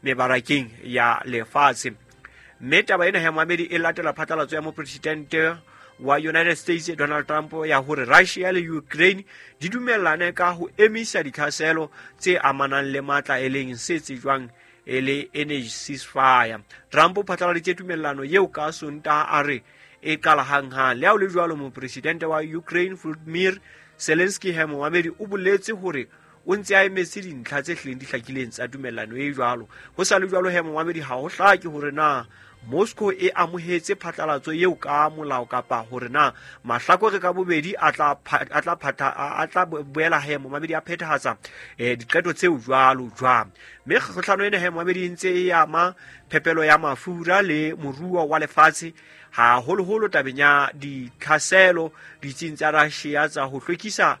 mebarakeng ya lefatshe. Mme taba ena ya moamedi e latela phatlalatso ya mopresidente wa United States Donald Trump ya hore Russia le Ukraine di dumellane ka ho emisa ditlhaselo tse amanang le matla e leng se tsejwang e le energy ceasefire. Trump o phatlaladitse tumellano eo ka Sontaha a re e qala hanghang. Le ha ho le jwalo, mopresidente wa Ukraine Volodymyr Zelensky he moamedi o boletse hore o ntse a emetse dintlha tse hlileng di hlakileng tsa tumellano e jwalo. Ho sa le jwalo he moamedi, ha ho hlake hore na Moscow e amohetse phatlalatso eo ka molao kapa hore na mahlakore ka bobedi a tla boela he momamedi a phethahatsa diqeto tseo jwalo jwang. Mme kgohlano ena he momamedi e ntse e ama phepelo ya mafura le moruo wa lefatshe, haholoholo tabeng ya ditlhaselo ditsing tsa Russia tsa ho hlwekisa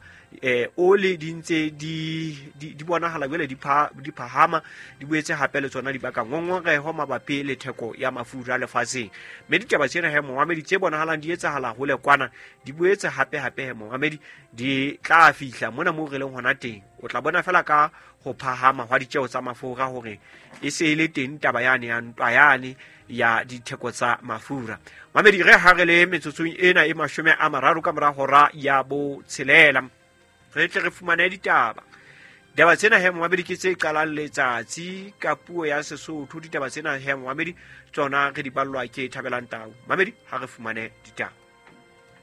oli di ntse di bonahala jwale di phahama, di boetse hape le tsona di baka ngongoreho mabapi le theko ya mafura lefatsheng. Mme ditaba tsena he momamedi tse bonahalang di etsahala hole kwana, di boetse hape hape he momamedi di tla fihla mona moo re leng hona teng. O tla bona fela ka ho phahama hwa ditjeo tsa mafura hore e se e le teng taba yane ya ntwa yane ya ditheko tsa mafura. Mamedi, re ha re le metsotsong ena e 30 ka mora hora ya 6, re tle re fumane ditaba. Ditaba tsena he momamedi ke tse qalang letsatsi ka puo ya Sesotho. Ditaba tsena he momamedi tsona re di ballwa ke Thabelang Tau. Mamedi, ha re fumane ditaba.